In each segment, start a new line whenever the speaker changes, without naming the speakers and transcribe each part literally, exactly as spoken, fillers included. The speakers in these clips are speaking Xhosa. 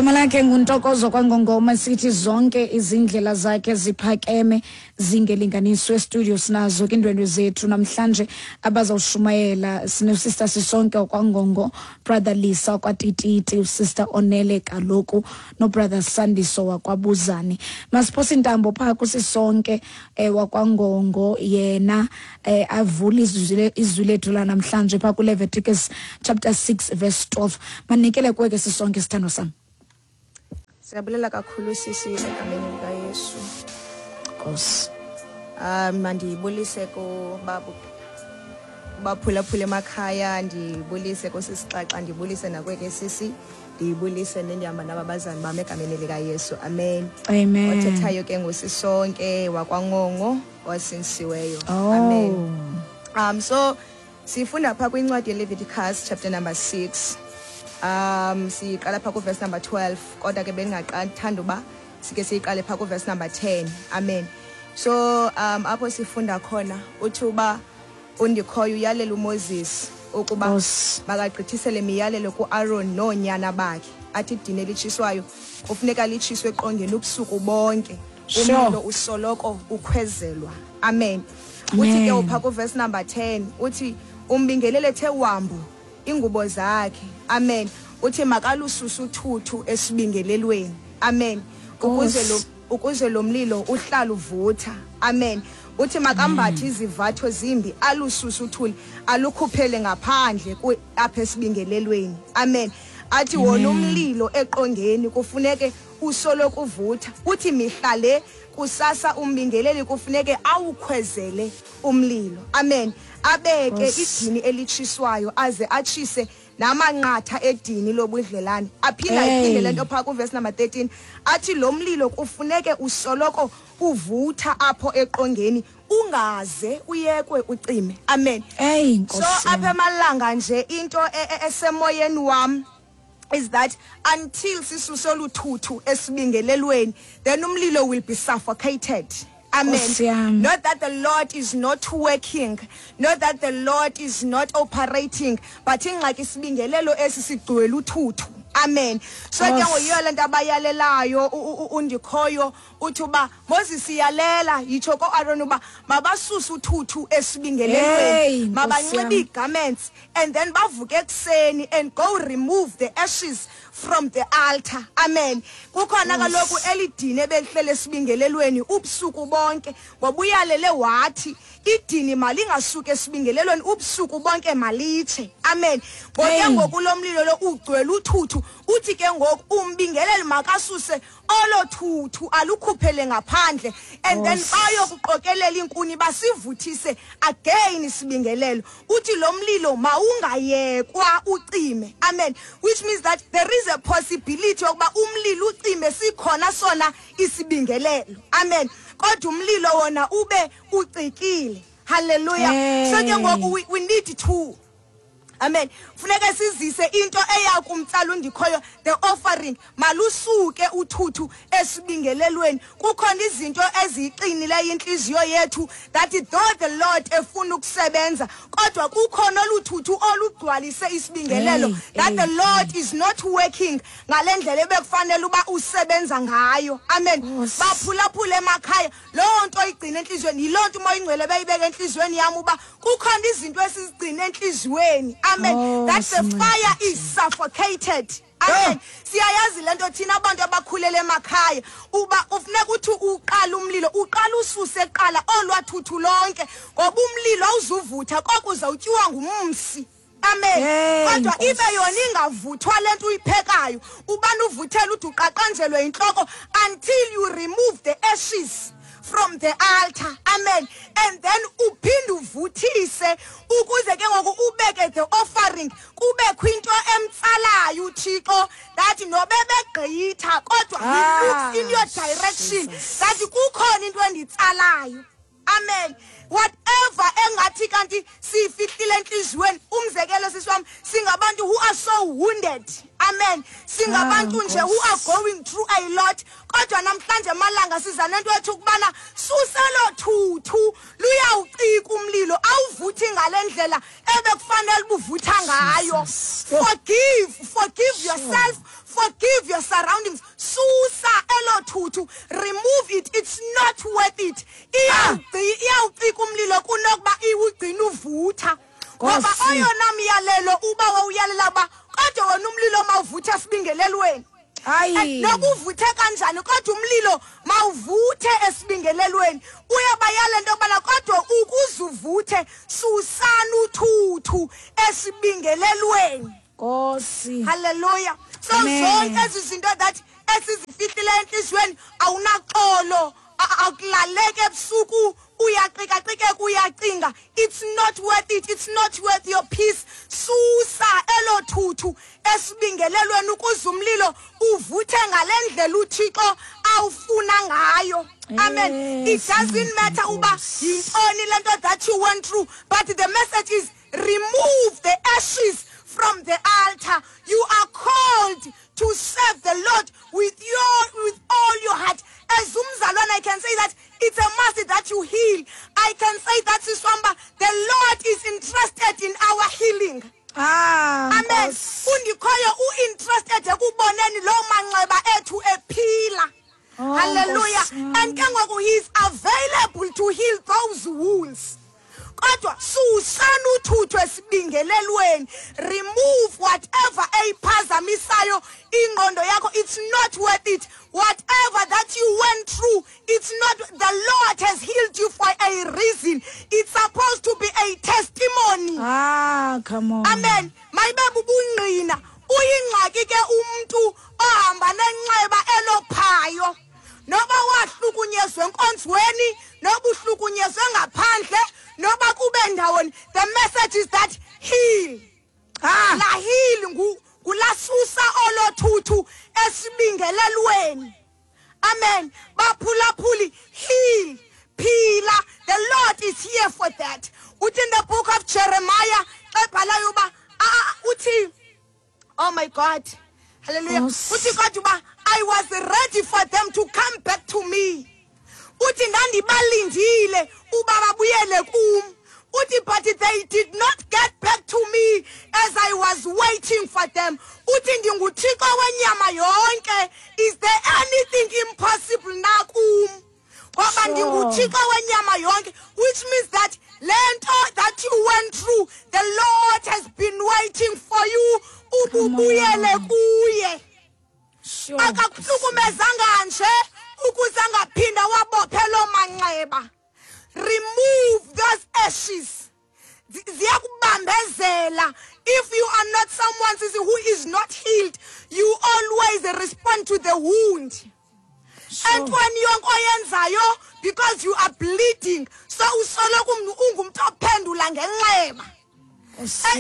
Igama lakhe nguNtokozo kwaNgongoma. Sithi zonke izindlela zakhe ziphakeme zingelinganiswe. Studio sinazo ke indwendwe zethu namhlanje abazawushumayela. Sino-sister Sisonke wakwaNgongo, brother Lisa wakwaTititi, usister Onele kaloku no-brother Sandiso wakwabuzane. Masiphose intambo phaa kuSisonke eh, wakwaNgongo, yena eh, avule izwi izwi lethu lanamhlanje phaa kuLeviticus chapter six verse twelve. Manikele kuwe ke Sisonke, sithando sam.
Siyabulela kakhulu sisi egameni likaYesu.
Nkosi.
Um mandibulise kubabu baphulaphula emakhaya, ndibulise kusisixaxa, ndibulise nakweke sisi, ndibulise nendihamba nababazali bam egameni likaYesu. Amen.
Amen.
Othethayo ke nguSisonke wakwaNgongo osindisiweyo.
Oh.
Amen. Um so sifunda pha kwincwadi yeLeviticus chapter number six. Um siqala pha kuverse number twelve, kodwa ke bengingaqathanda uba sike siyiqale pha kuverse number ten. Amen. So um apho sifunda khona uthi uba uNdikhoyo uyalela uMoses ukuba
Nkosi.
makagqithisele imiyalelo kuAaron noonyana bakhe, athi idini elitshiswayo kufuneka litshiswe eqongeni ubusuku bonke.
Sure.
Umlilo usoloko ukhwezelwa. Amen. Uthi ke
Amen.
upha kuverse number ten, uthi umbingelele ethe wambu ingubo zakhe. Amen. Uthi makalususa uthuthu esibingelelweni. Amen. Ukuze lo
Nkosi.
ukuze lo mlilo uhlala uvutha. Amen. Uthi makambathe izivatho zimbi, alususe uthuli, alukhuphele ngaphandle ku- apha esibingelelweni. Amen. Athi wona umlilo eqongeni kufuneke usoloko uvutha. Uthi mihla le kusasa umbingeleli kufuneke awukhwezele umlilo. Amen. Abeke
Nkosi.
idini elitshiswayo aze atshise namanqatha edini lobudlelane. Aphinda
Hey.
ayiphinde le nto phaa kuverse number thirteen, athi lo mlilo kufuneke usoloko uvutha apho eqongeni, ungaze uyekwe ucime. Amen.
Hey,
So
Nkosi.
apha emalanga nje into e- e- esemoyeni wam is that until sisuse oluthuthu esibingelelweni, then umlilo will be suffocated. Amen.
Nkosi yami.
Not that the Lord is not working, not that the Lord is not operating, but ingxaki isibingelelo esi sigcwele uthuthu. Amen. So ke
Nkosi.
ngoyiyo le nto abayalelayo u- u- u- uNdikhoyo uthi uba Moses iyalela yitsho koAaron uba mabasuse uthuthu
Hey,
esibingelelweni,
Nkosi
mabanxibe
yami.
ii-garments and then bavuke ekuseni and go remove the ashes from the altar. Amen. Kukhona kaloku elidini ebelihlele esibingelelweni ubusuku bonke, ngoba uyalele wathi idini malingasuki esibingelelweni ubusuku bonke, malitshe. Amen. Ngoke
Hey.
ngoku lo mlilo lo ugcwele uthuthu, uthi ke ngoku umbingeleli makasuse olo thuthu alukhuphele ngaphandle and then
Nkosi.
bayokuqokelela iinkuni basivuthise again isibingelelo. Uthi lo mlilo mawungayekwa ucime. Amen. Which means that there is a possibility yokuba umlilo ucime sikhona sona isibingelelo. Amen. Kodwa umlilo wona ube ucikile. Hallelujah. So ke
Hey.
ngoku we, we need to, amen, funeka sizise into eya kumtsala uNdikhoyo, the offering. Malusuke uthuthu esibingelelweni. Kukhona izinto eziyiqinileyo inhliziyo yethu that though the Lord efuna ukusebenza, kodwa kukhona oluthuthu olugcwalise isibingelelo
Hey,
that the
hey,
Lord is not working ngalendlela ebekufanele uba usebenza ngayo. Amen.
Nkosi.
Baphulaphula emakhaya, loo nto igcina enhliziyweni, yiloo nto uMoya Ingcwele beyibeka enhliziyweni yami uba kukhona izinto esizigcina enhliziyweni. Amen.
Oh,
That the
sincede.
fire is suffocated. Amen. Siyayazi lento thina abantu abakhulele emakhaya, uba ufuneka uthi uqala umlilo, uqala ususe eqala olwathuthu lonke, ngoba umlilo awuzuvutha koko uzawutyiwa ngumsi. Amen.
Hey,
Kodwa
Nkosi.
ibe yona ingavuthwa lento uyiphekayo, ubani uvuthela ude uqaqanjelwe inhloko until you remove the ashes from the altar. Amen. And then uphinde uvuthise ukuze ke ngoku ubeke the offering, kubekho into emtsalayo uThixo that nobe begqitha kodwa he
Ah,
looks in your direction
Jesus.
that kukhona into enditsalayo. Amen. Whatever engathi kanti sifihlile enhliziyweni, umzekelo sisi wami, singabantu who are so wounded. Amen. Singabantu
Ah,
nje who are
Nkosi.
going through a lot, kodwa namhlanje malanga siza nento ethu ukubana suselo thuthu luyawucika umlilo, awuvuthi ngalendlela ebekufanele ubuvutha ngayo.
Jesus.
Forgive, forgive yourself. Forgive your surroundings. Susa elo thuthu, remove it. It's not worth it. Iyawucika umlilo kunokuba iwugcina uvutha. Ngoba oyona myalelo uba wawuyalela uba kodwa wena umlilo mawuvuthe esibingelelweni.
Hayi.
Nokuvuthe kanjani kodwa umlilo mawuvuthe esibingelelweni. Uyabayala into yobana kodwa ukuze uvuthe susana uthuthu esibingelelweni.
Nkosi.
Hallelujah. So zonke ezi zinto that esizifihlileyo entliziyweni, awunaxolo, akulaleki ebusuku, uyaqikaqikeka, uyacinga. It's not worth it. It's not worth your peace. Susa elo thuthu esibingelelweni ukuze umlilo uvuthe ngale ndlela uThixo awufuna ngayo. Amen. It doesn't matter uba yintoni le nto that you went through, but the message is remove the ashes from the altar. You are called to serve the Lord with your with all your heart. As umzalwane, I can say that it's a must that you heal. I can say that siswamba, the Lord is interested in our healing.
Ah,
amen. Undikhoyo u-interested ekuboneni loo manxeba ethu ephila.
Oh,
hallelujah. And ke ngoku he is available to heal those wounds. Kodwa susana uthuthu esibingelelweni. Remove whatever eyiphazamisayo ingqondo yakho. It's not worth it. Whatever that you went through, it's not. The Lord has healed you for a reason. It's supposed to be a testimony.
Ah, come on.
Amen. Mayibe bubungqina. Uyingxaki ke umntu ohamba nenxeba elophayo. Noba wahlukunyezwe enkonzweni, noba uhlukunyezwe ngaphandle, noba kube ndawoni. The message is that heal.
Ah.
La heal ngu kulasusa olothuthu esibingelelweni. Amen. Baphulaphuli, heal. Phila. The Lord is here for that. Uthi in the book of Jeremiah, ebhalayo uba uthi, oh my God. Hallelujah. Uthi kodwa uba I was ready for them to come back to me. Uthi ndandibalindile uba babuyele kum. Uthi but they did not get back to me as I was waiting for them. Uthi ndinguThixo wenyama yonke. Is there anything impossible na kum? Ngoba ndinguThixo wenyama yonke, which means that le nto that you went through, the Lord has been waiting for you ububuyele kuye. Akakuhlukumezanga nje ukuze angaphinda wabophe loo manxeba. Remove those ashes. Ziyakubambezela. If you are not someone who is not healed, you always respond to the wound. Entweni yonke oyenzayo, because you are bleeding, so usoloko ungumntu ophendula ngenxeba.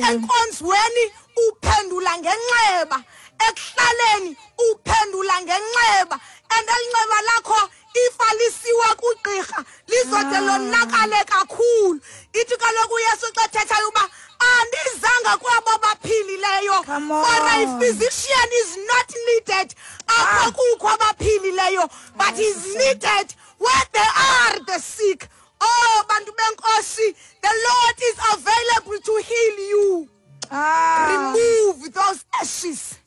Enkonzweni uphendula ngenxeba. Ekuhlaleni uphendula ngenxeba. And elinxeba lakho ifa lisiwa kugqirha lizode lonakale kakhulu. Ithi kaloku uYesu xa ethethayo uba andizanga kwabo baphilileyo, for a physician is not needed apho kukho abaphilileyo, but is needed where there are the sick. Oh, bantu benkosi, the Lord is available to heal you.
Ah.
Remove those ashes.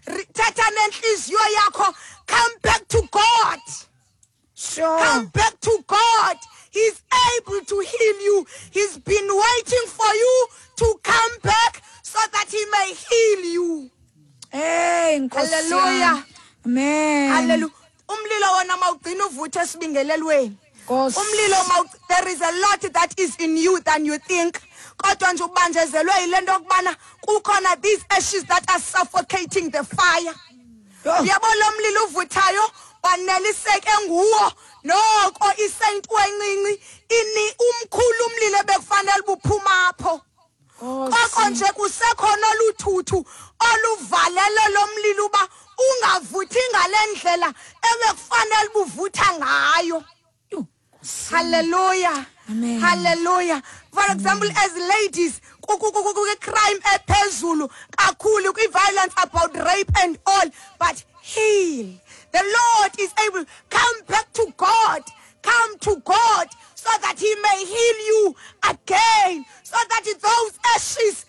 Thetha nenhliziyo yakho. Come back to God.
Sure.
Come back to God. He's able to heal you. He's been waiting for you to come back so that he may heal you.
Hey, Nkosi.
Hallelujah.
Amen.
Hallelujah. Umlilo wona mawugcina uvuthe esibingelelweni. Umlilo maw there is a lot that is in you than you think. Kodwa nje ubanjezelwe yile nto yokubana kukhona these ashes that are suffocating the fire. Uyabona lo mlilo uvuthayo waneliseke nguwo noko isento encinci ini umkhulu umlilo bekufanele buphuma apho. Koko nje kusekhona oluthuthu oluvalele lo mlilo uba ungavuthi ngalendlela ebekufanele buvutha ngayo. Hallelujah.
Amen.
Hallelujah. For example, as ladies, crime ephezulu kakhulu, violence about rape and all, but heal. The Lord is able. Come back to God. Come to God so that he may heal you again, so that those ashes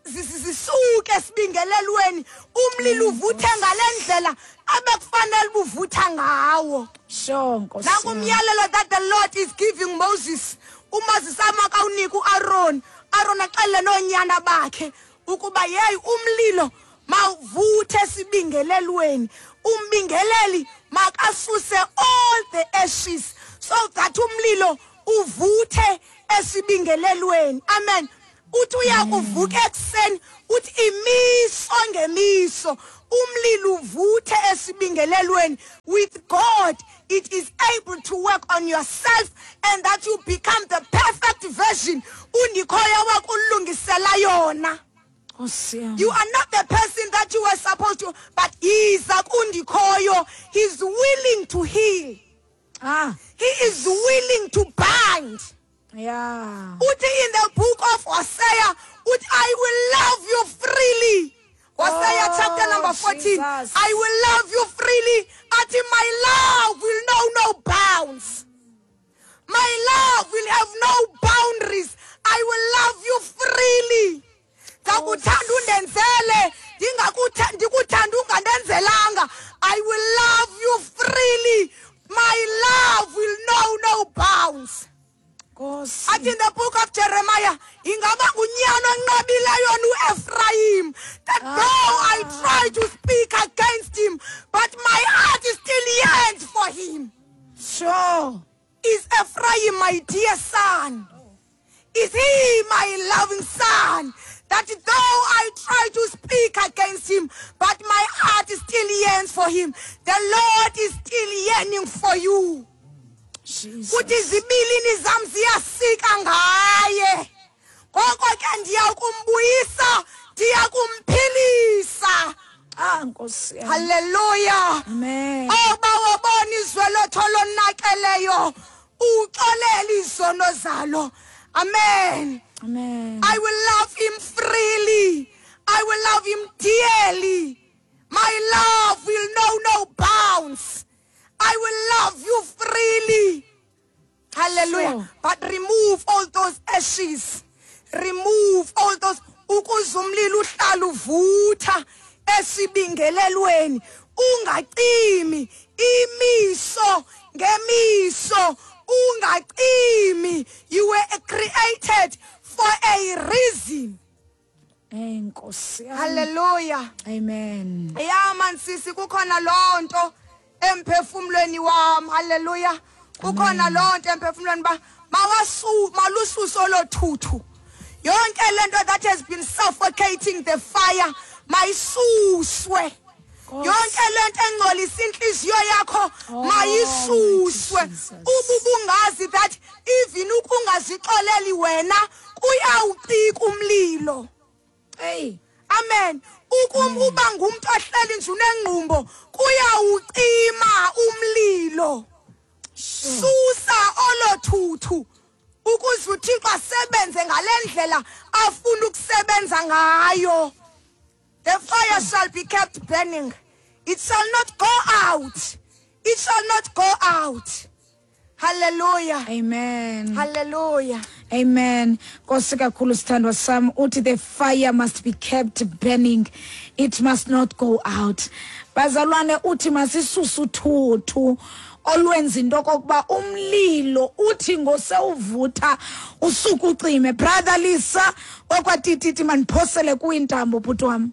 zisuke esibingelelweni, umlilo uvuthe ngalendlela abekufanele buvutha ngawo.
Sure, Nkosi.
Nakumyalelo that the Lord is giving Moses, uMoses amakawunika uAaron, Aaron axele noonyana bakhe ukuba yeyi umlilo mawuvuthe esibingelelweni, umbingeleli makasuse all the ashes so that umlilo uvuthe esibingelelweni. Amen. Uthi uyakuvuka ekuseni, uthi imiso ngemiso umlilo uvuthe esibingelelweni. With God it is able to work on yourself and that you become the perfect version uNdikhoyo wakulungisela yona. You are not the person that you were supposed to, but iza kuNdikhoyo, he's willing to heal.
Ah.
He is willing to bind.
Yeah.
Uthi in the book of Hosea, uthi I will love you freely. Hosea
oh,
chapter number fourteen.
Jesus.
I will love you freely. Uthi my love will know no bounds. My love will have no boundaries. I will love you freely. Ndakuthanda undenzele, ndingakuthanda ndikuthanda ungandenzelanga. I will love you freely. My love will know no bounds. Athi in the book of Jeremiah, ingaba ngunyana onqabileyo uEphraim, that ah. though I try to speak against him, but my heart still yearns for him.
Sure.
Is Ephraim my dear son? Is he my loving son? That though I try to speak against him, but my heart still yearns for him. The Lord is still yearning for you. Uthi izibilini zam ziyasika ngaye. Ngoko ke ndiyakumbuyisa, ndiyakumphilisa.
Ah, Nkosi yam.
Hallelujah.
Amen.
Oh, bawabona izwe lotho lonakeleyo, uxolele izono zalo. Amen.
Amen.
I will love him freely. I will love him dearly. My love will know no bounds. I will love you freely. Hallelujah.
Sure.
But remove all those ashes. Remove all those. Ukuze umlilo uhlale uvutha esibingelelweni, ungacimi imiso ngemiso, ungacimi. You were created for a reason.
Enkosi.
Hallelujah.
Amen.
Yeah man sisi, kukhona lonto emphefumulweni wami. Hallelujah. Kukhona lonto emphefumulweni ba mawasu malususo lothuthu. Yonke lento that has been suffocating the fire mayisuswe. Yonke lento engcolisa inhliziyo yakho mayisuswe. Ububungazi that even ukungazixoleli wena kuyawucika umlilo.
Hey.
Amen. Ukuba ngumuntu ohleli nje unengqumbo kuyawucima umlilo. Susa olothuthu ukuze uThixo asebenze ngalendlela afuna ukusebenza ngayo. The fire shall be kept burning. It shall not go out. It shall not go out. Hallelujah.
Amen.
Hallelujah.
Amen. Nkosi kakhulu sithandwa sam, uthi the fire must be kept burning. It must not go out. Bazalwane, uthi masisusu uthuthu olwenza into okokuba umlilo uthi ngosewuvutha usuku ucime. Brother Lisa okwatititi maniphosele kuintambo bhuti wam.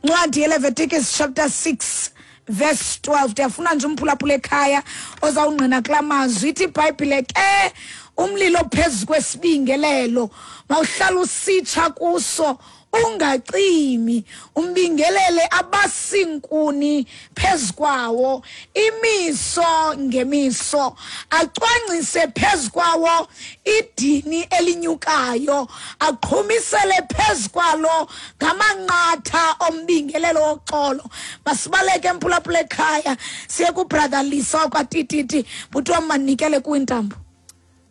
Ncwadi yeLeviticus chapter six verse twelve. Ndiyafuna nje umphulaphula ekhaya ozawungqina kula mazwi. Ithi iBhayibhile ke umlilo phezu kwesibingelelo mawuhlala usitsha kuso ungacimi, umbingelele abasinkuni phezu kwawo imiso ngemiso, acwangcise phezu kwawo idini elinyukayo, aqhumisele phezu kwalo ngamanqatha ombingelelo woxolo. Masibaleke emphulaphula ekhaya siye kubrother Lisa kwaTititi. Bhuti wam, manikele kuintambo.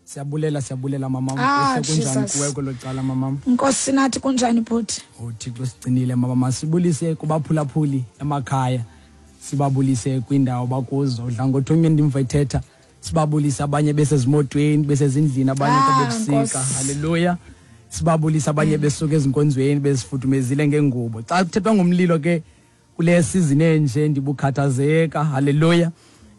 Siyabulela, siyabulela mama.
Ah,
kunjani kuwe kwelo cala mama?
Nkosi nathi, kunjani bhuti?
UThixo sigcinile mama. Masibulise kubaphulaphuli emakhaya, sibabulise kwindawo bakuzo. Udla ngothumye ndimva ethetha Sibabulisa abanye besezimotweni, besezindlini, abanye bebusika. Hallelujah. Sibabulisa abanye besuka ezinkonzweni bezifudumezile ngengubo. Xa kuthethwa ngomlilo ke kule season enje ndibukhathazeka. Hallelujah.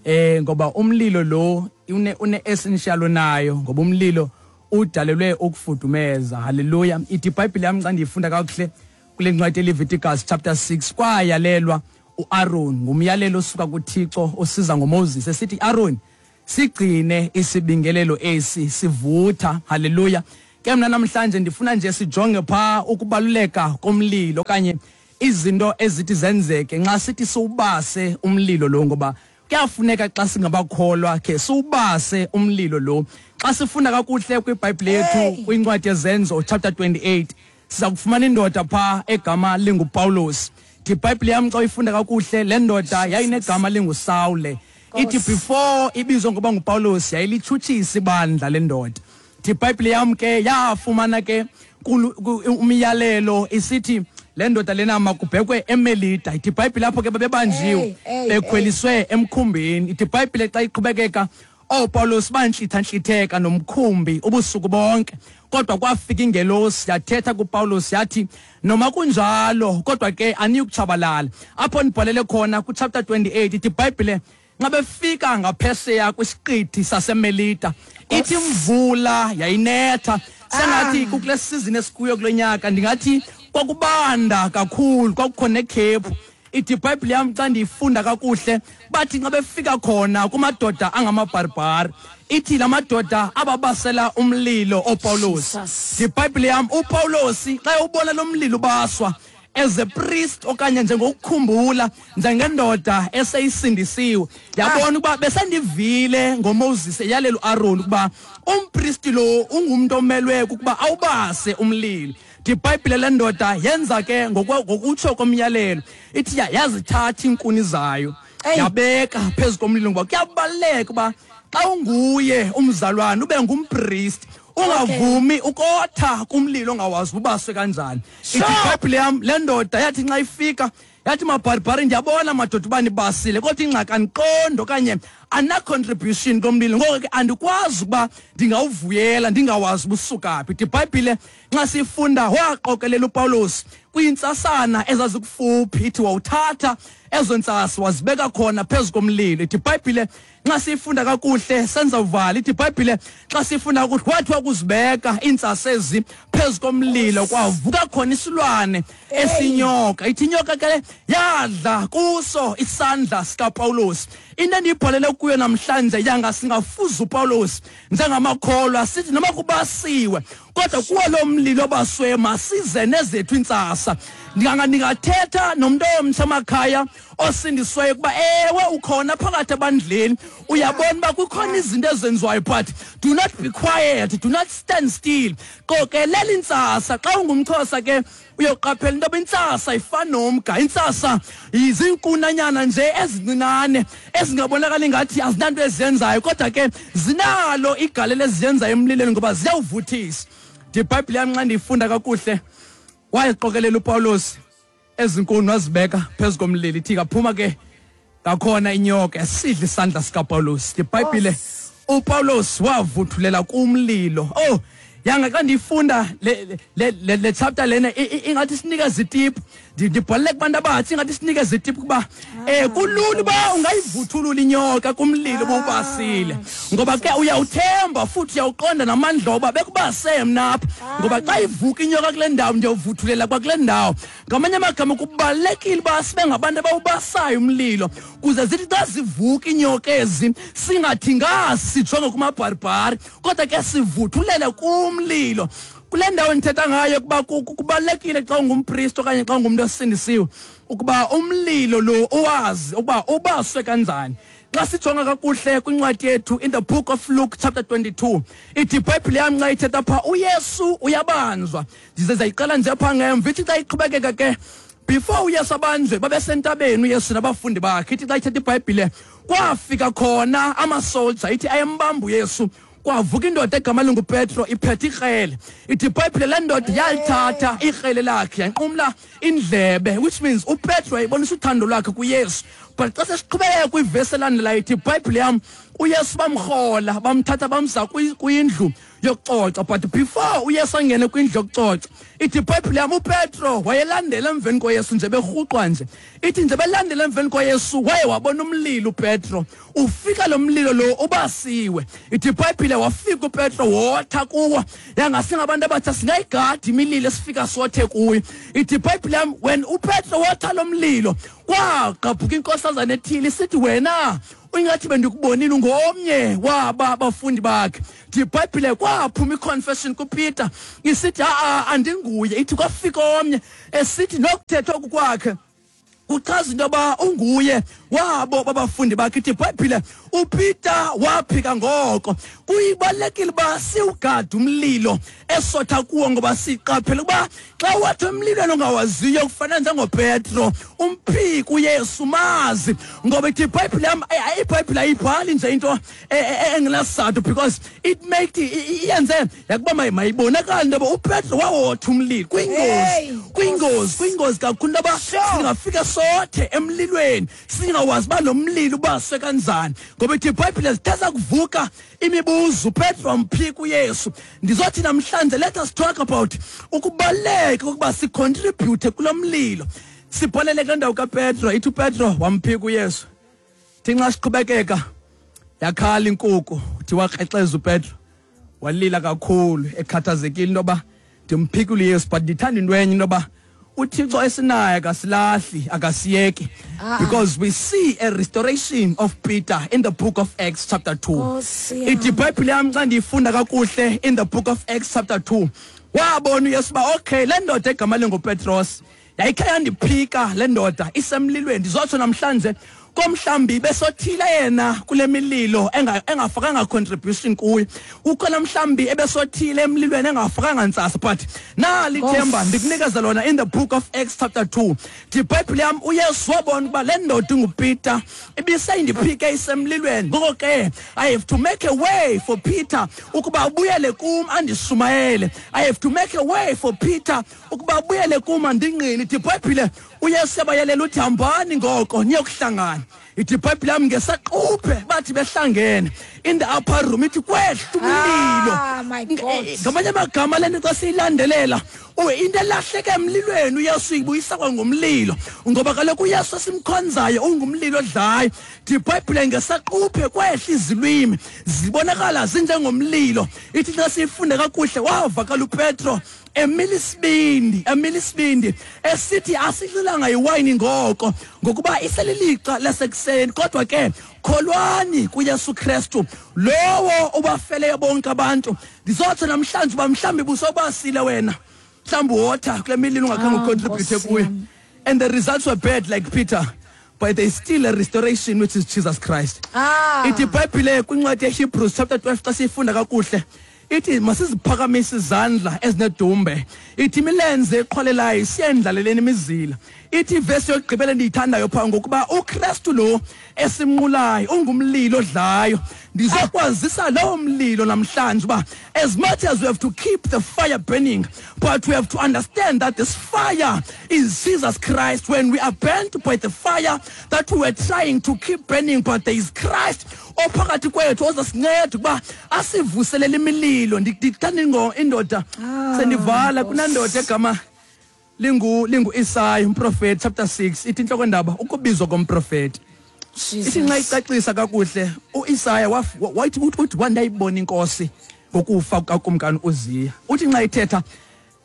Eh ngoba umlilo lo une une essential nayo, ngoba umlilo udalelwe ukufudumeza. Hallelujah. Ithi iBhayibheli yami xa ndiyifunda kakuhle kule ncwadi Leviticus chapter six, kwayalelwa uAaron ngumyalelo osuka kuThixo osiza ngoMoses esithi, Aaron, sigcine isibingelelo esi sivutha. Hallelujah. Ke mina namhlanje ndifuna nje sijonge pha ukubaluleka komlilo okanye izinto ezithi zenzeke nxa sithi siwubase umlilo lo, ngoba kuyafuneka xa singabakholwa ke siwubase umlilo lo. Xa sifunda kakuhle kwiBhayibhile yethu kwincwadi yeZenzo chapter twenty-eight, siza kufumana indoda pha egama linguPawulos. IBhayibhile yam xa uyifunda kakuhle, le ndoda yayinegama linguSawule. Ithi before ibizwa ngoba nguPawulos yayilitshutshisa ibandla le ndoda. IBhayibhile yam ke yafumana ke umyalelo isithi le ndoda lena makubhekwe eMelita. Ithi iBhayibhile apho ke babebanjiwe bekhweliswe emkhumbini. Ithi iBhayibhile xa iqhubekeka, ooPawulos bantlitha-ntlitheka nomkhumbi ubusuku bonke, kodwa kwafika ingelosi yathetha kuPawulos yathi, noma kunjalo kodwa ke aniyukutshabalala. Apho ndibhalele khona ku-chapter twenty-eight, ithi iBhayibhile nxa befika ngaphesheya kwisiqithi saseMelita, ithi imvula yayinetha. Sengathi kule season esikuyo kulo nyaka ndingathi kwakubanda kakhulu, kwakukho nekhephu. Ithi iBhayibhile yam xa ndiyifunda kakuhle, bathi nxa befika khona kumadoda angamabharbhari, ithi la madoda ababasela umlilo ooPawulos. IBhayibhile yam uPawulos xa ubona lo mlilo ubaswa as a priest okanye njengokukhumbula njengendoda eseyisindisiwe, yabona ukuba besendivile ngoMoses eyalela uAaron ukuba umpristi lo ungumntu omelwe ukuba awubase umlilo. IBhayibhile le ndoda yenza ke ngokutsho komyalelo, ithi yazithatha iinkuni zayo yabeka phezu komlilo, ngoba kuyabaluleka uba xa unguye umzalwane ube ngumpristi, ungavumi ukotha kumlilo ongawazi ubaswe kanjani. Ithi iBhayibhile yam le ndoda yathi nxa ifika yathi, mabharibhari, ndiyabona madoda uba nibasile, kodwa ingxaki andiqondi okanye ana contribution komlilo, ngoko ke andikwazi ukuba ndingawuvuyela ndingawazi ubusuka phi. Ithi iBhayibhile nxa sifunda, waqokelela uPawulos kwiintsasana ezazikufuphi, ithi wawuthatha ezo ntsasa wazibeka khona phezu komlilo. Ithi iBhayibhile nxa sifunda kakuhle senza uvala, ithi iBhayibhile xa sifunda kakuhle wathi wakuzibeka iintsasa ezi phezu komlilo, kwavuka khona isilwane esinyoka. Ithi inyoka ke yadla kuso isandla sikaPawulos. Into endiyibhalele kuyo namhlanje, yanga singafuza uPawulos njengamakholwa, sithi noma kubasiwe kodwa kuwo lo mlilo obaswe masize nezethu intsasa. Ndinganga ndingathetha nomntu omtsha emakhaya osindisweyo ukuba ewe ukhona phakathi ebandleni, uyabona uba kukhona izinto ezenziwayo, but do not be quiet, do not stand still. Qokelela intsasa. Xa ungumXhosa ke uyoqaphela into yoba intsasa ifana nomga. Intsasa ziinkunanyana nje ezincinane ezingabonakali ngathi azinanto eziyenzayo, kodwa ke zinalo igalelo eziyenzayo emlilweni ngoba ziyawuvuthisa. IBhayibhile yam xa ndiyifunda kakuhle, wayeqokelela uPawulos ezinkuni wazibeka phezu komlilo. Ithi kaphuma ke ngakhona inyoka yasidla isandla sikaPawulos. IBhayibhile uPawulos wavuthulela kumlilo. Oh, yanga xa ndiyifunda le le le chapter lena ingathi sinikeza itip. Ndibhalele kubantu abatsha ingathi sinikeza itip kuba eh kulula uba ungayivuthulula inyoka kumlilo obubasile, ngoba ke uyawuthemba futhi uyawuqonda namandla oba bekubase mna apha, ngoba xa ivuka inyoka kule ndawo ndiyawuvuthulela kwakule ndawo. Ngamanye amagama kubalulekile uba sibe ngabantu abawubasayo umlilo, kuze zithi xa zivuka inyoka ezi singathi ngasijonge kumabharibhari, kodwa ke sivuthulele kumlilo. Kule ndawo ndithetha ngayo kuba kubalulekile xa ungumpristi okanye xa ungumntu osindisiwe ukuba umlilo lo uwazi ukuba ubaswe kanjani. Xa sijonga kakuhle kwincwadi yethu in the book of Luke chapter twenty-two, ithi iBhayibhile yam xa ithetha pha uYesu uyabanjwa. Ndize zayiqala nje pha ngemva, ithi xa iqhubekeka ke before uYesu abanjwe babesentabeni uYesu nabafundi bakhe. Ithi xa ithetha iBhayibhile kwafika khona amasolja, ithi ayembamba uYesu. Kwavuka indoda egama linguPetro iphethe ikrele. Ithi iBhayibhile le ndoda yalithatha ikrele lakhe yanqumla indlebe, which means uPetro wayebonisa uthando lwakhe kuYesu. But xa sesiqhubeka kwivesi elandelayo ithi iBhayibhile yam uYesu bamrhola bamthatha bamsa kwindlu yokucoca. But before uYesu angene kwindlu yokucoca, ithi iBhayibhile yam uPetro wayelandela emveni koYesu nje berhuqwa nje. Ithi nje belandela emveni koYesu waye wabona umlilo uPetro. Ufika lo mlilo lo ubasiwe. Ithi iBhayibhile wafika uPetro wotha kuwo. Yangasingabantu abathi singayigadi imililo esifika sothe kuyo. Ithi iBhayibhile yam when uPetro wotha lo mlilo kwagqabhuka inkosazana ethile isithi wena ingathi bendikubonile ungomnye waba abafundi bakhe. Ithi iBhayibhile kwaphuma iconfession kuPeter isithi a andinguye. Ithi kwafika omnye esithi nokuthetha oku kwakhe kuchaza into yoba unguye wabo babafundi bakhe. Ithi iBhayibhile uPeter waphika ngoko. Kuyibalulekile uba siwugade umlilo esotha kuwo, ngoba siqaphele ukuba xa wathi emlilweni ongawaziyo kufana njengoPetro umphika uYesu mazi. Ngoba ithi iBhayibhile yam, iBhayibhile ayibhali nje into engenasizathu, because it make iyenze yakuba mayibonakale into yoba uPetro wawotha umlilo. Kwingozi, kwingozi, kwingozi kakhulu into yoba singafika sothe emlilweni singawazi uba lo mlilo ubaswe kanjani. Ngoba ithi iBhayibhile zithetha kuvuka imibuzo, uPetro wamphika uYesu. Ndizothi namhlanje let us talk about ukubaluleka kokuba sicontribute kulo mlilo. Sibholele kule ndawo kaPetro. Ithi uPetro wamphika uYesu. Thi nxa siqhubekeka yakhala inkukhu, uthi wakrexeza uPetro walila kakhulu ekhathazekile into yoba ndimphikile uYesu. But ndithanda into enye into yoba uThixo esinaye akasilahli, akasiyeki, because we see a restoration of Peter in the book of Acts chapter two. Ithi iBhayibhile yam xa ndiyifunda kakuhle in the book of Acts chapter two, wabona uYesu uba okay, le ndoda egama linguPetros yayikhe yandiphika le ndoda isemlilweni. Ndizotsho namhlanje komhlambi besothile yena kule mililo engafakanga contribution kuyo. Ukhona mhlambi ebesothile emlilweni engafakanga ntsasa. But nali ithemba ndikunikeza lona in the book of Acts chapter two. IBhayibhile yam uYesu wabona ukuba le ndoda inguPeter ibiseyindiphike isemlilweni. Ngoko ke I have to make a way for Peter ukuba abuyele kum andishumayele. I have to make a way for Peter ukuba abuyele kum andingqine. IBhayibhile uYesu yabayalela uthi hambani ngoko niyokuhlangana. Ithi iBhayibhile yam ngesaquphe bathi behlangene in the upper room, ithi kwehla umlilo.
Ah, my God.
Ngamanye amagama le nto xa siyilandelela into elahleke emlilweni uYesu uyibuyisa kwangomlilo, ngoba kaloku uYesu esimkhonzayo ungumlilo odlayo. Ithi iBhayibhile ngesaquphe kwehla izilwimi zibonakala zinjengomlilo. Ithi xa siyifunde kakuhle wavakala uPetro emila isibindi, emila isibindi esithi asidlulanga iwayini ngoko ngokuba iselilixa lasekuseni, kodwa ke kholwani kuYesu Kristu lowo obafeleyo bonke abantu. Ndizothi namhlanje uba mhlawumbi busobasile wena, mhlawumbi wotha kule mililo ungakhange ucontribute kuyo, and the results were bad like Peter, but there is still a restoration which is Jesus Christ. Ithi iBhayibhile kwincwadi yeHebrews chapter twelve xa siyifunda kakuhle ithi masiziphakamise izandla ezinedumbe, ithi imilenze eqhwalelayo siyendlaleleni imizila. Ithi ivesi yokugqibela endiyithandayo phaa ngokuba uKristu lo esimnqulayo ungumlilo odlayo. Ndizokwazisa lowo mlilo namhlanje uba as much as we have to keep the fire burning, but we have to understand that this fire is Jesus Christ. When we are burnt by the fire that we were trying to keep burning, but there is Christ ophakathi kwethu ozasinceda ukuba asivuselele imililo. Ndithanda indoda sendivala kunandoda egama lingu lingu Isaya umprofeti chapter six. Ithi inhloko ndaba ukubizwa komprofeti. Ithi nxa icacisa kakuhle uIsaya wathi uthi wandayibona inkosi ngokufa kukakumkani uZiya. Uthi nxa ithetha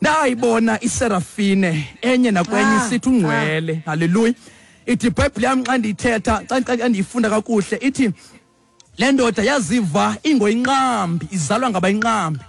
ndayibona iserafine enye nakwenye isithi ungcwele. Haleluya. Ithi iBhayibhile yam xa ndiyithetha xa ndiyifunda kakuhle ithi le ndoda yaziva ingoyinqambi izalwa ngabayinqambi.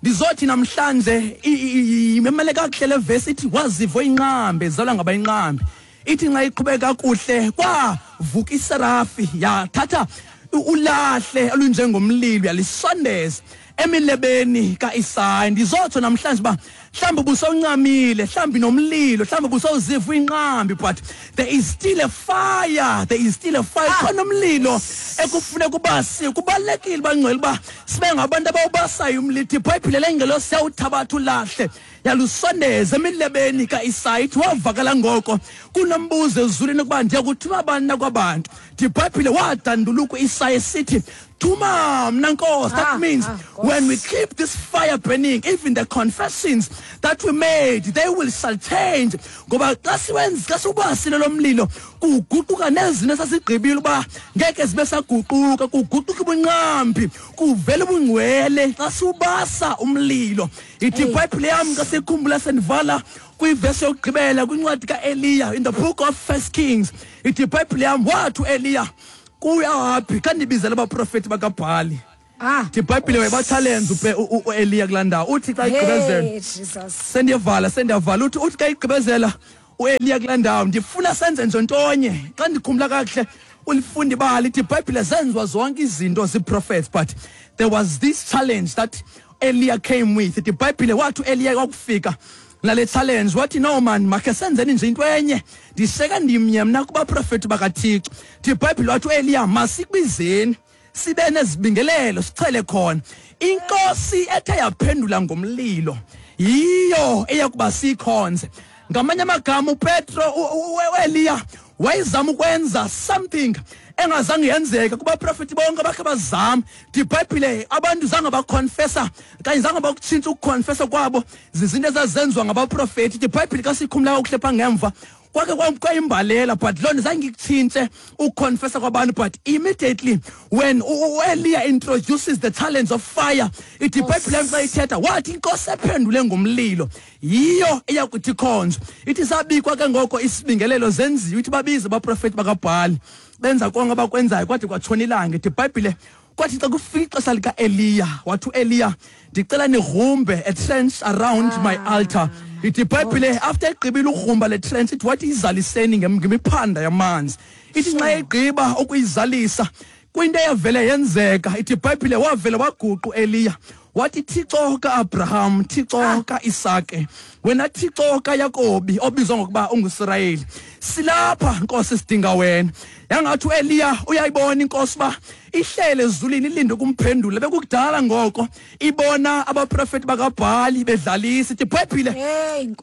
Ndizothi namhlanje imemele kakuhle le verse ithi waziva inqambi izalwa ngabayinqambi. Ithi nxa iqhubeka kakuhle kwavuka iserafi yathatha ulahle olunjengomlilo yalisondeza emilebeni kaIsaya. Ndizotsho namhlanje uba Mhlawumbi ubusawuncamile, mhlawumbi nomlilo, mhlawumbi ubusawuziva inqambi, but there is still a fire, there is still a fire. Khona umlilo ekufuneka ubasiwe. Kubalulekile bangcwele uba sibe ngabantu abawubasayo umlilo. IBhayibhile lengelosi yawuthabatha ulahle yalusondeza emilebeni kaIsaya, ithi wavakala ngoko kunombuzo ezulwini ukuba ndiya kuthuma bani na kwabantu. IBhayibhile wadanduluka uIsaya esithi, thuma mna Nkosi. That means when we keep this fire burning, even the confessions that we made, they will shall change. Ngoba xa siwenza, xa siwubasile lo mlilo, kuguquka nezinto esasigqibile uba ngeke zibe saguquka, kuguquka ubunqambi, kuvela ubungcwele xa siwubasa umlilo. Ithi iBhayibhile yam xa sikhumbula sendivala kwivesi yokugqibela kwincwadi kaEliya in the book of First Kings. Ithi iBhayibhile yam wathi uEliya kuyapi xa ndibizela abaprofeti bakaBhali.
Ah,
iBhayibhile wayebatshalenza uEliya kulaa ndawo. Uthi xa igqibezela, sendiyavala sendiyavala, uthi uthi xa igqibezela uEliya kulaa ndawo, ndifuna senze nje ntonye. Xa ndikhumbula kakuhle ulifunda ibali, ithi iBhayibhile zenziwa zonke izinto zii-prophets, but there was this challenge that Eliya came with. Ithi iBhayibhile wathi uEliya kwakufika nale challenge, wathi no man, makhe senzeni nje into enye, ndisheka ndimnye mna kubaprofeti bakaThixo. Ithi iBhayibhile wathi uEliya masikubizeni sibe nezibingelelo sichele khona. Inkosi ethe yaphendula ngomlilo yiyo eyakuba sikhonze. Ngamanye amagama uPetro uEliya wayezama ukwenza something engazange yenzeka kubaprofeti bonke abakhe bazama. IBhayibhile abantu zange baconfessa kanye zange bakutshintsha ukuconfessa kwabo zizinto ezazenziwa ngabaprofeti. IBhayibhile xa siyikhumula kakuhle phaa ngemva kwake kwayimbalela, but loo nto zange ikutshintshe ukuconfessa kwabantu. But immediately when uEliya introduces the challenge of fire, ithi iBhayibhile xa ithetha wathi inkosi ephendule ngomlilo yiyo eyakuthi ikhonzwe. Ithi sabikwa ke ngoko isibingelelo zenziwe, ithi babize abaprofeti bakaBhali, benza konke abakwenzayo kwade kwatshona ilanga. Ithi iBhayibhile kwathi xa kufika ixesha likaEliya, wathi uEliya ndicela nigrumbe a trench around my altar. Ithi iBhayibhile after egqibile ugrumba le trench, ithi wathi izaliseni ngemiphanda yamanzi. Ithi nxa egqiba ukuyizalisa kwinto eyavele yenzeka, ithi iBhayibhile wavele waguqa uEliya wathi Thixo kaAbraham, Thixo kaIsake, wena Thixo kaYakobi obizwa ngokuba unguSirayeli, silapha Nkosi sidinga wena. Yangathi uEliya uyayibona inkosi uba ihlele ezulwini ilinde ukumphendula. Bekukudala ngoko ibona abaprofeti bakaBhali bedlalisa. Ithi iBhayibhile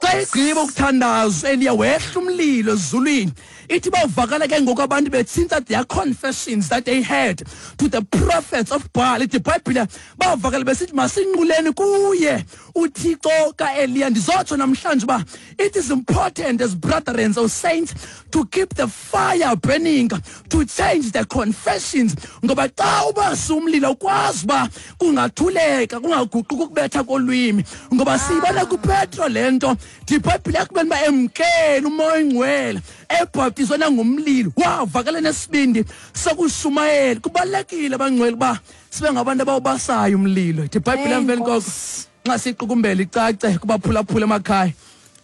xa igqiba ukuthandaza uEliya wehla umlilo ezulwini. Ithi bavakala ke ngoku abantu betshintsha their confessions that they had to the prophets of Baal. Ithi iBhayibhile bavakala besithi masinquleni kuye uThixo kaEliya. Ndizotsho namhlanje uba it is important as brethren or saints to keep the fire burning, to change the confessions. Ngoba xa ubasa umlilo ukwazi uba kungathuleka, kungaguquki ukubetha kolwimi. Ngoba siyibona kuPetro le nto. IBhayibhile yakubeni uba emkele uMoya oyiNgcwele, ebhaptizwe nangomlilo, wavakala nesibindi sokushumayela. Kubalulekile bangcwele uba sibe ngabantu abawubasayo umlilo. Ithi iBhayibhile emveni koko nxa siqukumbela icace kubaphulaphula emakhaya,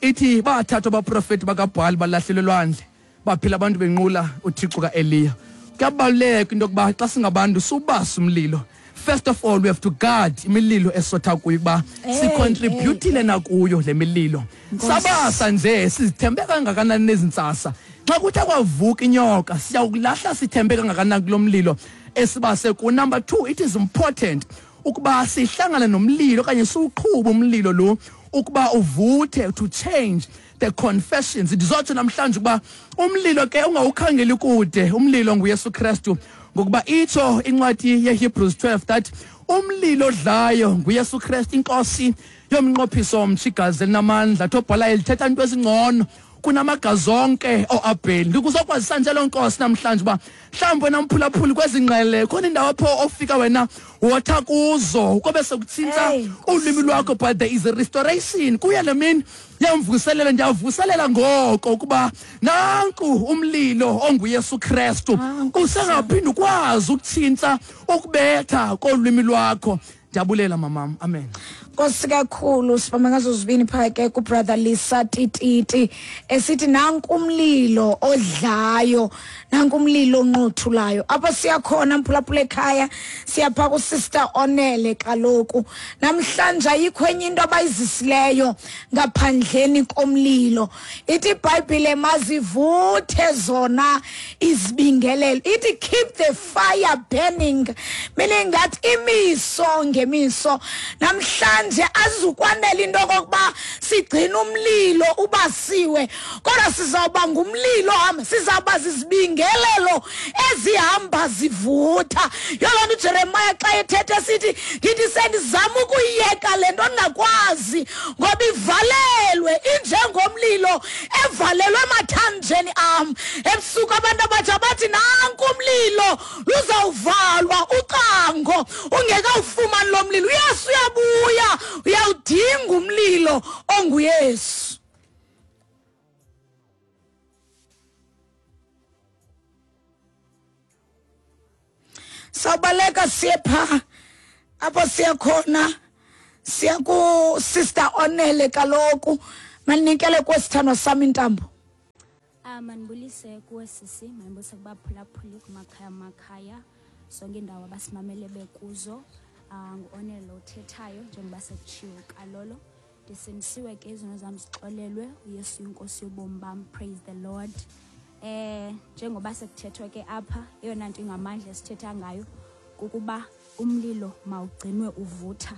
ithi bathathwa abaprofeti bakaBhali balahlelwe elwandle, baphila abantu benqula uThixo kaEliya. Kuyabaluleka into yokuba xa singabantu siwubase umlilo. First of all, we have to guard imililo esotha kuyo uba sicontributile nakuyo le mililo. Sabasa nje sizithembe kangakanani nezintsasa. Xa kuthe kwavuka inyoka siyawukulahla sithembe kangakanani kulo mlilo esibase ku. Number two, it is important ukuba sihlangane nomlilo okanye siwuqhube umlilo lo ukuba uvuthe, to change the confessions. Ndizotsho namhlanje ukuba umlilo ke ungawukhangeli kude, umlilo nguYesu Kristu. Ngokuba itsho incwadi yeHebrews twelve that umlilo odlayo nguYesu Kristu, inkosi yomnqophiso omtsha, igazi elinamandla. Thobhala elithetha into ezingcono kunamagazi onke oAbheli. Ndikuzokwazisa nje loo nkosi namhlanje uba mhlawumbi wena mphulaphuli kwezi ngqele khona indawo apho ofika wena wotha kuzo kobe sekutshintsha ulwimi lwakho, but there is a restoration. Kuya le mini yamvuselela, ndiyavuselela ngoko ukuba nanku umlilo onguYesu Kristu usengaphinda ukwazi ukutshintsha ukubetha kolwimi lwakho. Ndiyabulela mamam. Amen.
Nkosi kakhulu, sibamba ngazo zibini pha ke ku brother Lisa Tititi esithi nanku umlilo odlayo, nanku umlilo onqothulayo. Apha siyakhona mphulaphula ekhaya, siyapha ku sister Onele kaloku. Namhlanje ayikho enye into abayizisileyo ngaphandleni komlilo. Ithi iBhayibhile mazivuthe zona izibingelelo. Ithi keep the fire burning, meaning that imiso ngemiso. Namhlanje azukwanela into okokuba sigcina umlilo ubasiwe, kodwa sizawuba ngumlilo hamba, sizawuba zizibingelelo ezihamba zivutha. Yoloo nto uJeremiah xa ethetha sithi ndithi sendizama ukuyiyeka le nto ndingakwazi ngoba ivalelwe injengomlilo evalelwe emathanjeni am. Ebusuku abantu abatsha bathi nanku umlilo luzawuvalwa ucango ungekawufumani lo mlilo. uYesu uyabuya, uyawudinga umlilo onguYesu. Sawubaleka siye pha apho siya khona, siya ku sister Onele kaloku. Manikele kwesithandwa sami intambo.
Ah, manibulise kuwe sisi, manibulise kubaphulaphuli kumakhaya makhaya zonke indawo abasimamele bekuzo. Ah, ngu-Onele othethayo njengoba sekutshiwo kalolo. Ndisindisiwe ke izono zam zixolelwe, uYesu inkosi yobomi bam. Praise the Lord. Eh njengoba sekuthethwe ke apha, eyona nto ingamandla esithetha ngayo kukuba umlilo mawugcinwe uvutha.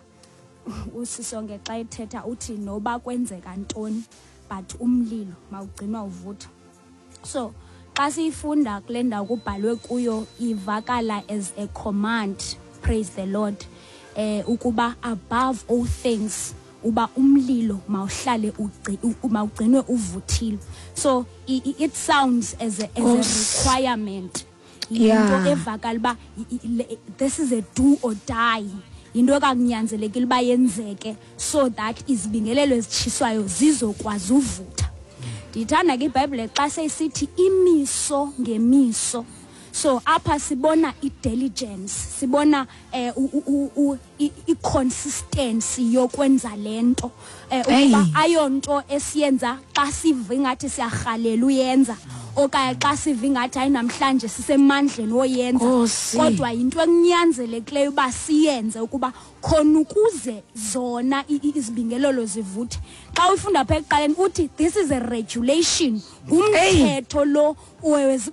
Usisonke xa ethetha uthi noba kwenzeka ntoni, but umlilo mawugcinwa uvutha. So xa siyifunda kule ndawo kubhalwe kuyo ivakala as a command. Praise the Lord. Eh ukuba above all things uba umlilo mawuhlale mawugcinwe uvuthile. So it sounds as a, as a requirement. Into evakala uba this is a do or die. Into ekakunyanzelekile uba yenzeke so that izibingelelo ezitshiswayo zizokwazi uvutha. Ndiyithanda ke iBhayibhile xa seyisithi imiso ngemiso. So apha sibona i-diligence, sibona eh i-consistency yokwenza lento. Eh ukuba ayonto esiyenza xa siva ingathi siyarhalela uyenza okanye xa siva ingathi hayi namhlanje sisemandleni woyenza, kodwa yinto ekunyanzelekileyo uba siyenze ukuba khona ukuze zona izibingelelo zivuthe. Xa uyifunda apha ekuqaleni uthi this is a regulation, ngumthetho lo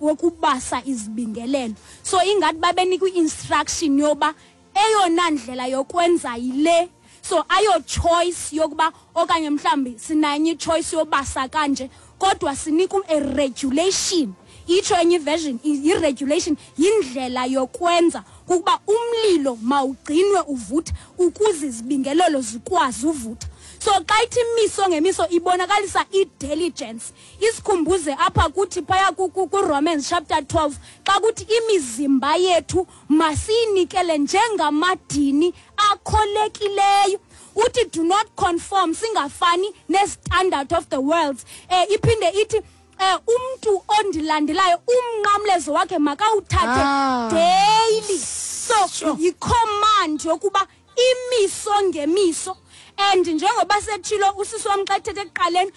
wokubasa izibingelelo. So ingathi babenikwa i-instruction yoba eyona ndlela yokwenza yile. So ayo choice yokuba okanye mhlambi sinanye i-choice yobasa kanje, kodwa sinika a regulation. Itsho enye version i-regulation yindlela yokwenza kukuba umlilo mawugcinwe uvutha ukuze izibingelelo zikwazi uvutha. So xa ithi imiso ngemiso ibonakalisa i-diligence. Isikhumbuze apha kuthi phaya ku-Romans chapter twelve xa kuthi imizimba yethu masiyinikele njengamadini akholekileyo. Uthi do not conform, singafani ne-standard of the world. Eh iphinde ithi eh umntu ondilandelayo umnqamlezo wakhe makawuthathe ah, daily. So sure, yi-command yokuba imiso ngemiso. And njengoba sethilo usisi wam xa ethethe ekuqaleni,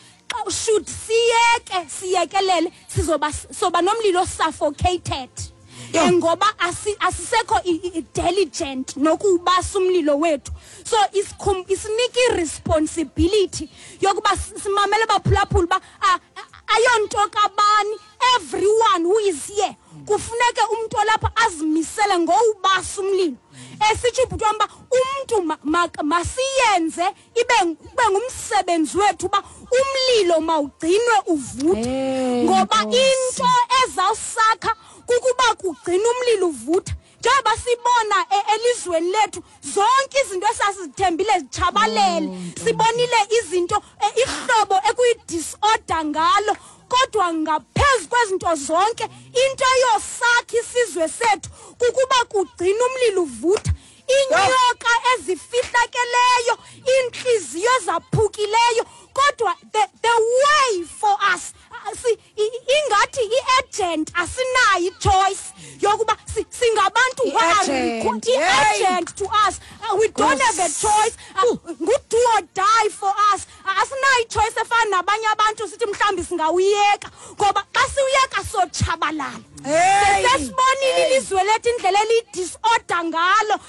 should siyeke siyekelele sizoba soba nomlilo suffocated. Ngoba asisekho diligent nokubasa umlilo wethu. So isinika i-responsibility yokuba simamele baphulaphula uba ayonto kabani, everyone who is here kufuneke umntu olapha azimisele ngowubasa umlilo. Esitsho ubhuti wam uba umntu masiyenze ibe ngumsebenzi wethu uba umlilo mawugcinwe uvuthe, ngoba into ezawusakha kukuba kugcina umlilo uvutha. Njengoba sibona elizweni lethu zonke izinto esasizithembile zitshabalele, sibonile izinto ihlobo ekuyi-disorder ngalo, kodwa ngaphezu kwezinto zonke into eyosakha isizwe sethu kukuba kugcina umlilo uvutha. Inyoka ezifihlakeleyo, inhliziyo zaphukileyo, kodwa the, the way for us si ingathi i-agent asinayo i-choice yokuba singabantu who are i-agent to us. We don't have a choice. Ngu-do or die for us. Asinayo i-choice efana nabanye abantu sithi mhlawumbi singawuyeka, ngoba xa siwuyeka sotshabalala. Sesibonile ilizwe lethu indlela eliyi-disorder ngalo.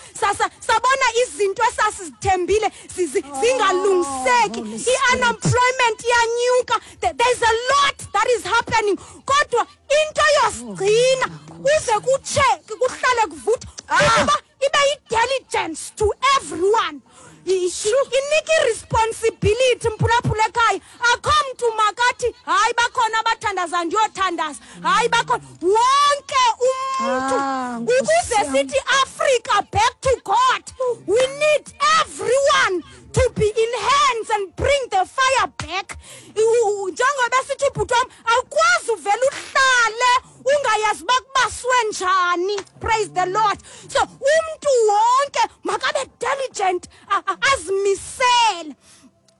Sabona izinto esasizithembile zingalungiseki. I-unemployment iyanyuka. There's a lot that is happening. Kodwa into yosigcina uze kutshe kuhlale kuvutha ukuba ibe yi-diligence to everyone. Inike i-responsibility mphulaphula ekhaya. Akho mntu makathi hayi bakhona abathandaza ndiyothandaza, hayi bakhona wonke umntu. Ukuze sithi Africa back to God, we need everyone to be in hands and bring the fire back. Njengoba sithi ubhuti wam, awukwazi uvele uhlale ungayazi uba kubaswe njani. Praise the Lord. So umntu wonke makabe diligent, azimisele.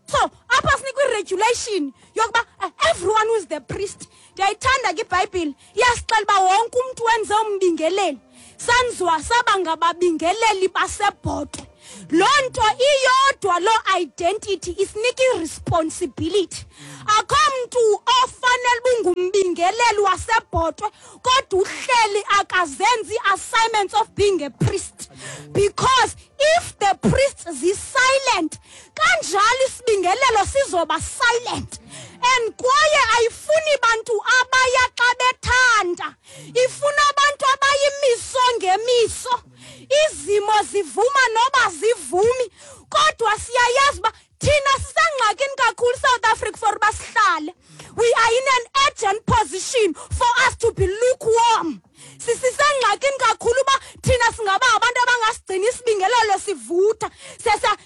So apha sinikwa i-regulation yokuba everyone who is the priest. Ndiyayithanda ke iBhayibhile, iyasixela uba wonke umntu wenze umbingeleli. Sanziwa saba ngababingeleli basebhotwe. Loo nto iyodwa, loo identity isinika i-responsibility. Akho mntu ofanele uba ungumbingeleli wasebhotwe kodwa uhleli akazenzi i-assignments of being a priest. Because if the priest is silent, kanjalo isibingelelo sizoba silent. And kwaye ayifuni bantu abaya xa bethanda, ifuna abantu abayimiso ngemiso. Izimo zivuma noba zivumi, kodwa siyayazi uba thina sisengxakini kakhulu South Africa for uba sihlale. We are in an urgent position for us to be lukewarm. Sisengxakini kakhulu uba thina singaba abantu abangasigcina isibingelelo sivutha.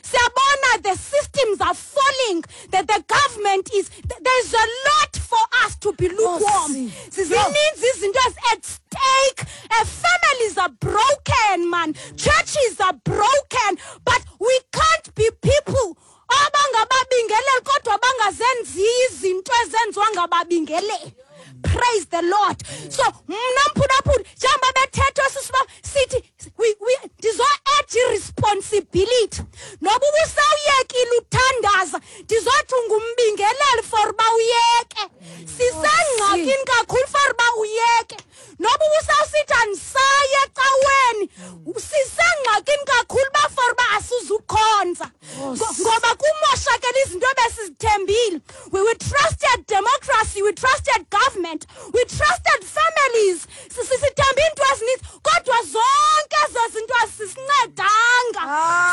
Siyabona the systems are falling, that the government is, there's a lot for us to be lukewarm. Zininzi izinto at stake. Uh, families are broken, man. Churches are broken. But we can't be people abangababingeleli kodwa bangazenzi izinto ezenziwa ngababingeleli. Praise the Lord. So mna mphulaphuli, njengoba bethethwa sisiba sithi we we ndizo-add i-responsibility. Noba ubusawuyekile uthandaza, ndizothi ungumbingeleli for uba uyeke. Sisengxakini kakhulu for uba uyeke. Noba ubusawusithi andisaye ecaweni, sisengxakini kakhulu uba for uba asizukhonza. Ngoba kumoshakele izinto ebesizithembile. We, we trusted democracy, we trusted government, we trusted families. Sisithembe iinto ezininzi, kodwa zonke ezo zinto azisincedanga.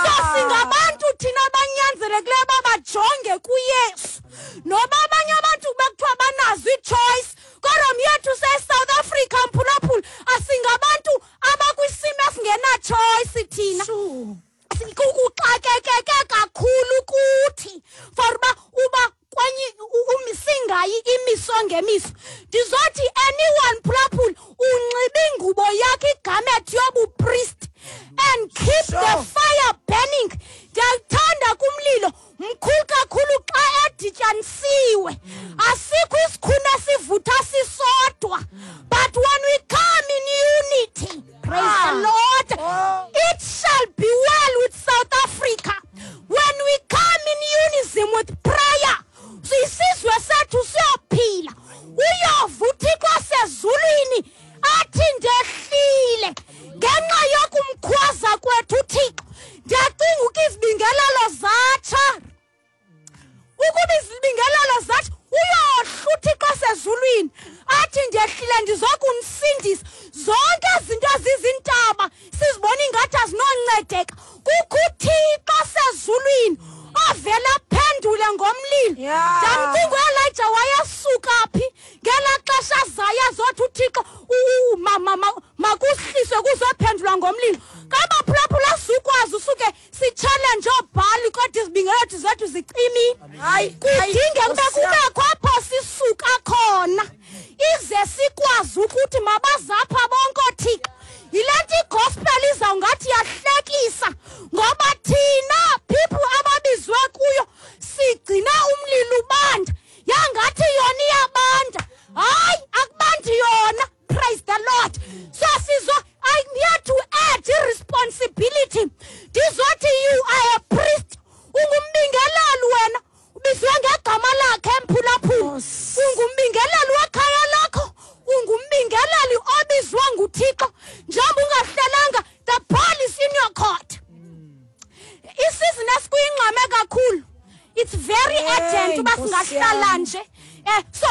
So singabantu thina abanyanzelekileyo uba bajonge kuYesu. Noba abanye abantu bekuthiwa banazo ii-choice, kodwa myethu seSouth Africa mphulaphula, asingabantu abakwisimo esingena-choice thina. Kuxakekeke kakhulu kuthi for uba uba kwenye singayi imiso ngemiso. Ndizothi anyone phulaphula unxiba ingubo yakhe igamethi yobupriest and keep sure. the fire burning. Ndiyakuthanda kumlilo mkhulu kakhulu xa edityanisiwe. Asikho isikhuni esivutha sisodwa, but when we come in unity, praise ah. the Lord, oh. it shall be well with South Africa. When we come in unison with prayer, isizwe sethu siyophila. Uyova uThixo wasezulwini athi ndehlile ngenxa yokumkhwaza kwethu uThixo. Ndiyacinga uba izibingelelo zatsha, ukuba izibingelelo zatsha, uyohla uThixo wasezulwini athi ndehlile ndizokunisindisa. Zonke izinto ezizintaba sizibona ingathi azinoncedeka, kukho uThixo wasezulwini ovela aphendule ngomlilo. Ndamcinga uElijah wayesuka phi ngelaa xesha zaye azothi uThixo makuhliswe kuzophendulwa ngomlilo. Kabaphulaphula sukwazi usuke si-challenge oobhali kodwa izibingelelo zethu zicimile. Kudinge kube kubekho apho sisuka khona ize sikwazi ukuthi mabazapha bonke ooThixo. Yile nto igospel izawungathi yahlekisa, ngoba thina people ababizwe kuyo sigcina umlilo ubanda, yangathi yona iyabanda. Hayi, akubandi yona. Praise the Lord. So sizo I need to add responsibility. Ndizothi bohlala nje. Eh so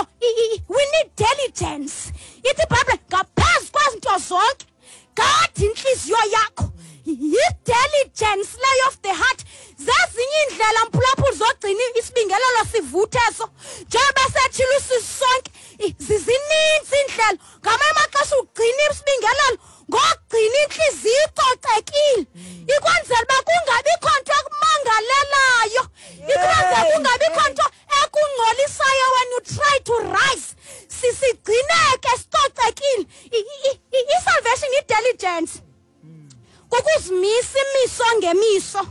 we need diligence. Ithi iBhayibhile ngaphezu kwezinto zonke gada inhliziyo yakho. Yi-diligence leyo of the heart. Zezinye iindlela mphulaphuli zogcina isibingelelo sivutheso njengoba sethile usisi sonke, zizininzi iindlela. Ngamanye amaxesha ugcina isibingelelo ngokugcina inhliziyo icocekile, ikwenzela uba kungabikho nto ekumangalelayo, ikwenzela kungabikho nto ekungcolisayo when you try to rise. Sisigcineke sicocekile. I-salvation i-diligence kukuzimisa imiso ngemiso,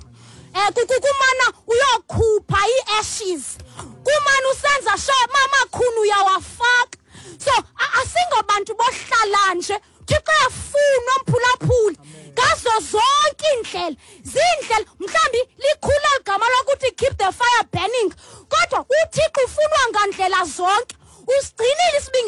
eh kukumana uyokhupha ii-ashes, kumana usenza sure mamakhulu uyawafaka. So asingobantu bohlala nje. Thixo uyafuna omphulaphuli ngazo zonke iindlela. Ziindlela mhlawumbi likhula ligama lokuthi keep the fire burning, kodwa uThixo ufunwa ngandlela zonke. Usigcinile isibingelelo.